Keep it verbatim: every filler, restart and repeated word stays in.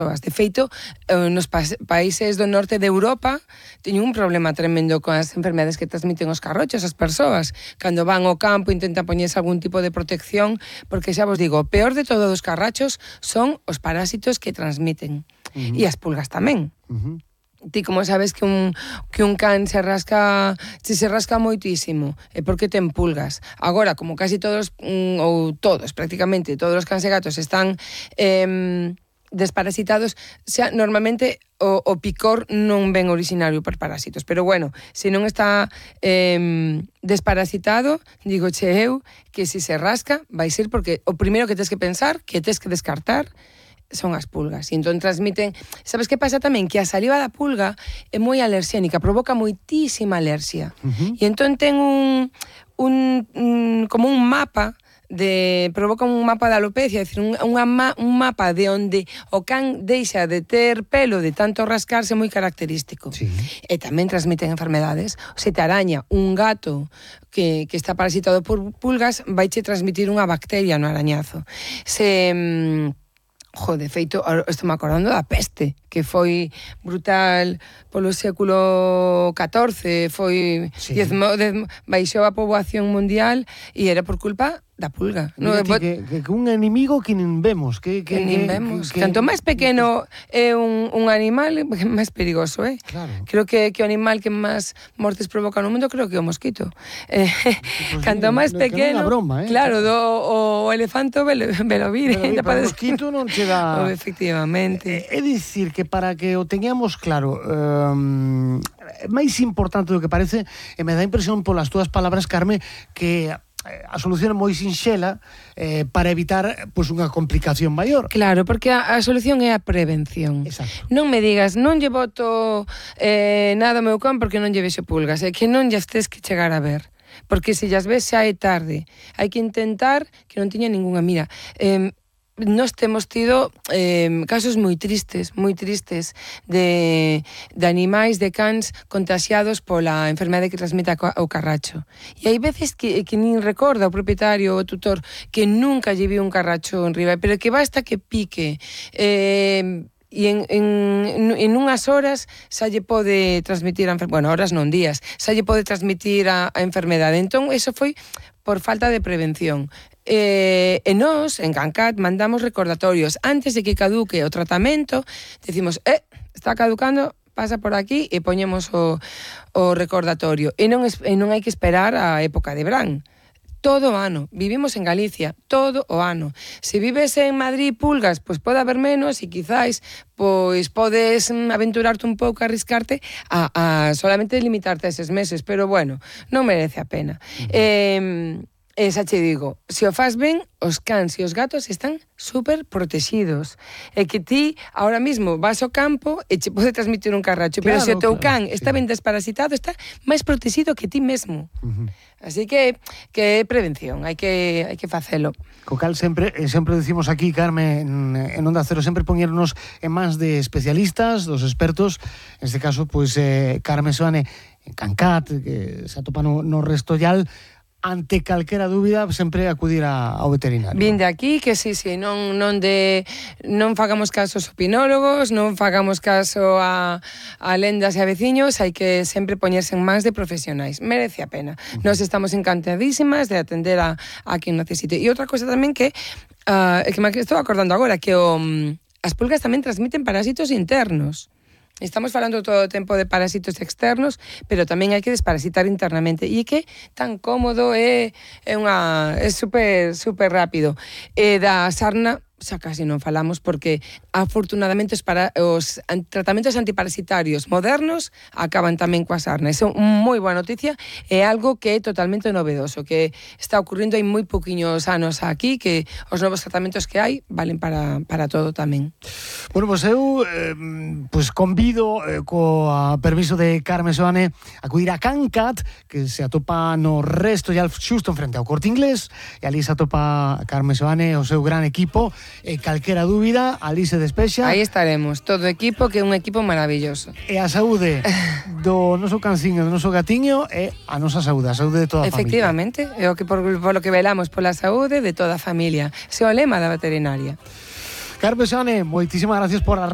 De feito, nos países do norte de Europa teñen un problema tremendo con as enfermedades que transmiten os carrochos as persoas. Cando van ao campo intentan poñerse algún tipo de protección, porque xa vos digo, o peor de todos os carrachos son os parásitos que transmiten. Uh-huh. E as pulgas tamén. Uh-huh. Ti como sabes que un, que un can se rasca, se se rasca moitísimo, é porque ten pulgas. Agora, como casi todos, ou todos, prácticamente, todos os cans e gatos están eh, desparasitados, xa, normalmente o, o picor non ven originario por parásitos. Pero bueno, se non está eh, desparasitado, digo che eu, que se se rasca, vai ser porque o primeiro que tens que pensar, que tens que descartar, son as pulgas. E entón transmiten... Sabes que pasa tamén? Que a saliva da pulga é moi alerxénica, provoca moitísima alerxia. Uh-huh. E entón ten un, un, un como un mapa de provoca un mapa de alopecia, é dicir, un, un, un mapa de onde o can deixa de ter pelo de tanto rascarse moi característico. Sí. E tamén transmiten enfermedades. Se te araña un gato que, que está parasitado por pulgas, vai che transmitir unha bacteria no arañazo. Se... Jo, de feito, estou me acordando da peste, que foi brutal polo século catorce, foi sí. diezmo, diezmo, baixou a poboación mundial e era por culpa da pulga. No, ti, que, que, que un enemigo que nin vemos. Que, que, que nin vemos. Que, que, Canto máis pequeno é un, un animal, máis perigoso, eh? Claro. Creo que, que o animal que máis mortes provoca no mundo, creo que é o mosquito. Eh, pues canto máis pequeno... Broma, eh? Claro, do, o, o elefante velo, velo vir. Pero o mosquito non che dá... Oh, efectivamente. É, é dicir que para que o teñamos claro, um, máis importante do que parece, e me dá impresión polas túas palabras, Carme, que a solución é moi sinxela eh, para evitar pois, unha complicación maior. Claro, porque a, a solución é a prevención. Exacto. Non me digas, non lle boto eh, nada ao meu can porque non lle vexo pulgas, é que non llas tes que chegar a ver. Porque se llas ves xa é tarde. Hai que intentar que non tiña ningunha. Mira, eh, nós temos tido eh, casos moi tristes, moi tristes de, de animais, de cans contaxiados pola enfermedade que transmite o carracho. E hai veces que, que nin recorda o propietario ou o tutor que nunca lle viu un carracho en riba, pero que basta que pique eh, e en, en, en unhas horas xa lle pode transmitir a enfermedade, bueno, horas non días, xa lle pode transmitir a, a enfermedade. Entón, eso foi por falta de prevención. Eh, e nós, en CanCat, mandamos recordatorios antes de que caduque o tratamento, decimos, eh, está caducando, pasa por aquí e poñemos o, o recordatorio. E non, e non hai que esperar a época de verán. Todo o ano. Vivimos en Galicia, todo o ano. Se vives en Madrid, pulgas, pois pode haber menos e quizáis pois podes aventurarte un pouco, arriscarte a, a solamente limitarte a eses meses, pero bueno, non merece a pena. Uh-huh. Eh, E xa che digo, se o faz ben, os cans e os gatos están super protegidos. E que ti, ahora mismo, vas ao campo e che pode transmitir un carracho, claro, pero se o teu claro, can sí. está ben desparasitado, está máis protegido que ti mesmo. Uh-huh. Así que, que é prevención, hai que, hai que facelo. Co cal sempre, sempre decimos aquí, Carme, en, en Onda Cero, sempre poñernos en mans de especialistas, dos expertos, en este caso, pois, eh, Carme Soane, en CanCat, que se atopa no, no Restollal. Ante calquera dúbida, sempre acudir a, ao veterinario. Vinde aquí, que sí, sí, non, non, de, non fagamos caso aos opinólogos, non fagamos caso a, a lendas e a veciños, hai que sempre poñerse en mans de profesionais. Merece a pena. Uh-huh. Nos estamos encantadísimas de atender a, a quen necesite. E outra cosa tamén que, uh, que me estou acordando agora, que o, as pulgas tamén transmiten parásitos internos. Estamos falando todo o tempo de parásitos externos, pero tamén hai que desparasitar internamente. E que tan cómodo é, é unha é super super rápido. E da sarna xa casi non falamos porque afortunadamente os, para, os tratamentos antiparasitarios modernos acaban tamén coa sarna. Iso é moi boa noticia, é algo que é totalmente novedoso, que está ocurrindo hai moi pouquiños anos aquí, que os novos tratamentos que hai valen para, para todo tamén. Bueno, pois pues eu eh, pues convido eh, coa permiso de Carme Soane a acudir a CanCat, que se atopa no Restollal xusto en frente ao Corte Inglés, e ali se atopa Carme Soane o seu gran equipo. E calquera dúbida, ali se despexa. Aí estaremos, todo o equipo, que é un equipo maravilloso. E a saúde do noso canciño, do noso gatiño, é a nosa saúde, a saúde de toda a Efectivamente, familia. Efectivamente, é o que por, por lo que velamos pola saúde de toda a familia. Ese é o lema da veterinaria. Carme Soane, moitísimas gracias por a